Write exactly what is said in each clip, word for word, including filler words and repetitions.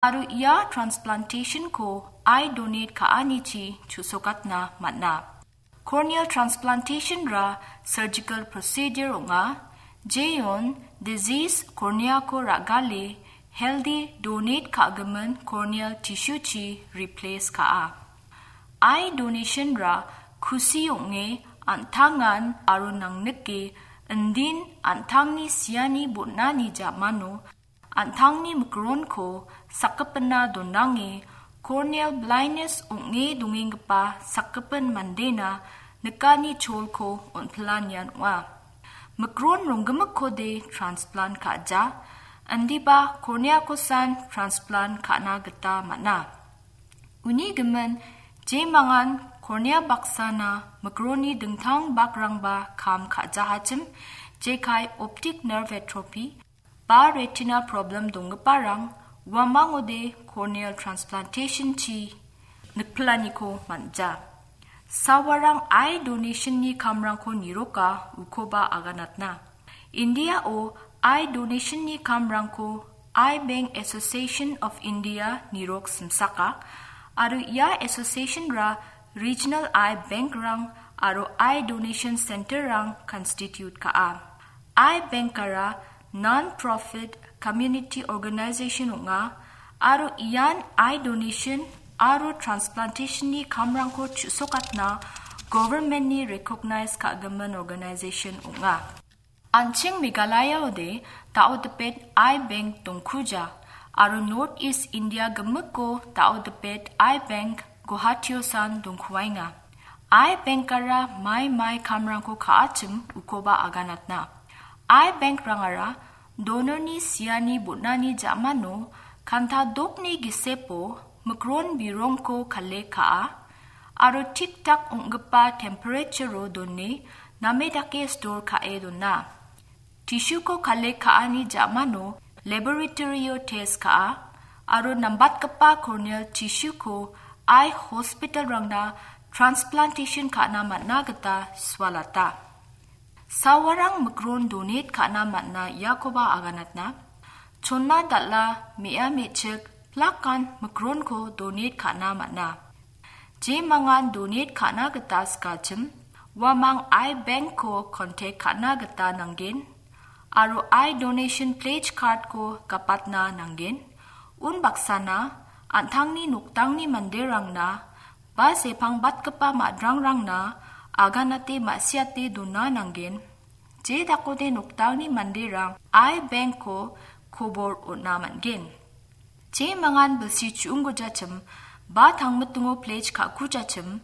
aro ia transplantation-ko eye donate ka·anichi chusokatna man·a. Corneal transplantation-ra surgical procedure ong·a, jeon disease cornea-ko ra·gale healthy donate ka·gimin corneal tissue-chi replace ka·a. Eye donation-ra kusi ong·e an·tangan aro nangnike indin an·tangni siani bon·ani ja·mano an·tangni mikronko sakgipina donange corneal blindness ong·e dongenggipa sakgipin mandena nikani cholko on·pilanian ong·a. Mikron ronggimikkode transplant ka·ja, indiba cornea-kosan transplant ka·na gita man·a. Uni gimin, jemangan cornea baksana mikronni dingtang bakrangba kam ka·jahachim, jekai optic nerve atrophy, ba retina problem donggiparang uamangode corneal transplantation-chi nikpilaniko man·ja. Sawarang eye donation-ni kamrangko niroka ukoba aganatna. India-o eye donation-ni kamrangko Eye Bank Association of India nirok simsaka, aro ia association-ra regional eye bank-rang aro eye donation center-rang constitute ka·a. Eye Bank-ara non-profit community organization ong·a, aro ian eye donation aro transplantation-ni kamrangko chu·sokatna government-ni recognize ka·gimin organization ong·a. An·ching Meghalaya-ode dao dipet Eye Bank dongkuja, aro North East India gimikko dao dipet Eye Bank Guwahati-osan dongkuaenga. Eye Bank-ara mai mai kamrangko ka·achim ukoba aganatna. Eye Bank-rangara donor-ni siani bon·ani ja·mano kanta dokni gisepo mikron birongko collect ka·a, aro tik-tak ong·gipa temperature-o done name dake store ka·e dona. Tissue-ko collect ka·ani ja·mano laboratory-o test ka·a, aro nambatgipa corneal tissue-ko eye hospital-rangna transplantation ka·na man·a gita sualata. Sawarang mikron donate ka·na man·a iakoba aganatna. Chonna dal·a, me·a me·chik, plakan mikronko donate ka·na man·a. Jemangan donate ka·na gita sikachim, uamang Eye Bank-ko contact ka·na gita nanggen, aro eye donation pledge card-ko gapatna nanggen. Unbaksana, an·tangni noktangni manderangna ba sepangbatgipa ma·drangrangna aganate ma·siate dona nanggen. Je dakode noktangni manderang Eye Bank-ko kobor on·a man·gen. Jemangan bilsi chu·unggujachim ba tangmitingo pledge ka·kujachim,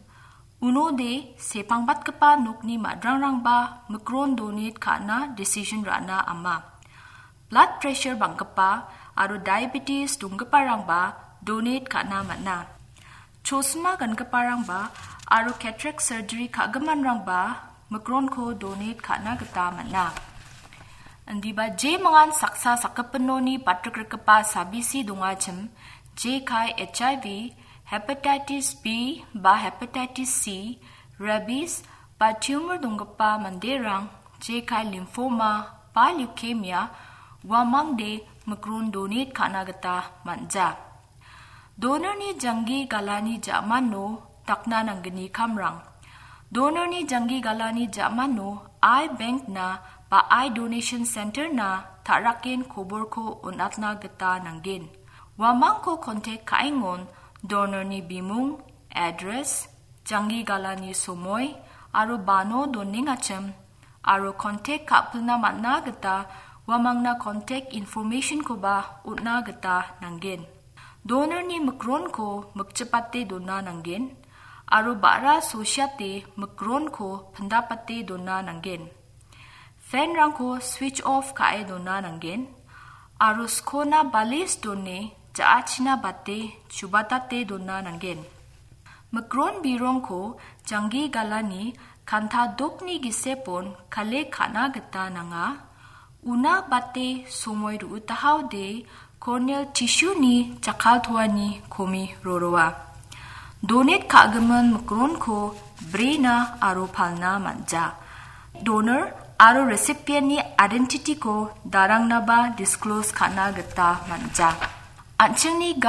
unode sepangbatgipa nokni ma·drangrangba mikron donate ka·na decision ra·na ama. Blood pressure bang·gipa aro diabetes donggiparangba donate ka·na man·a. Chosma gangiparangba aro cataract surgery ka·giminrangba mikronko donate ka·na gita man·a. Indiba jemangan saksa sakgipinoni batrikgrikgipa sabisi dongachim, jekai H I V, hepatitis B ba hepatitis C, rabies ba tumor donggipa manderang, jekai lymphoma ba leukemia, uamangde mikron donate ka·na gita man·ja. Donorni janggi galani ja·mano dakna nanggni kamrang. Donorni janggi galani ja·mano Eye Bank-na ba Eye Donation Center-na ta·raken koborko on·atna gita nanggen. Uamangko contact ka·engon donorni bimung, address, janggi galani somoi aro bano donengachim aro contact ka·pilna man·na gita uamangna contact information-koba on·na gita nanggen. Donorni mikronko mikchipate dona nanggen aro ba·ra sosiate mikronko pindapate dona nanggen. Fan-rangko switch off ka·e dona nanggen aro skona balis done ja·achina bate chubatate dona nanggen. Mikron birongko janggi galani kanta dokni gisepon kale ka·na gita nanga. Una bate somoi ru·utahaode corneal tissue-ni jakkaltoani komi roroa. Donate ka·gimin mikronko brena aro palna man·ja. Donor aro recipient-ni identity-ko darangnaba disclose ka·na gita man·ja. An·chingni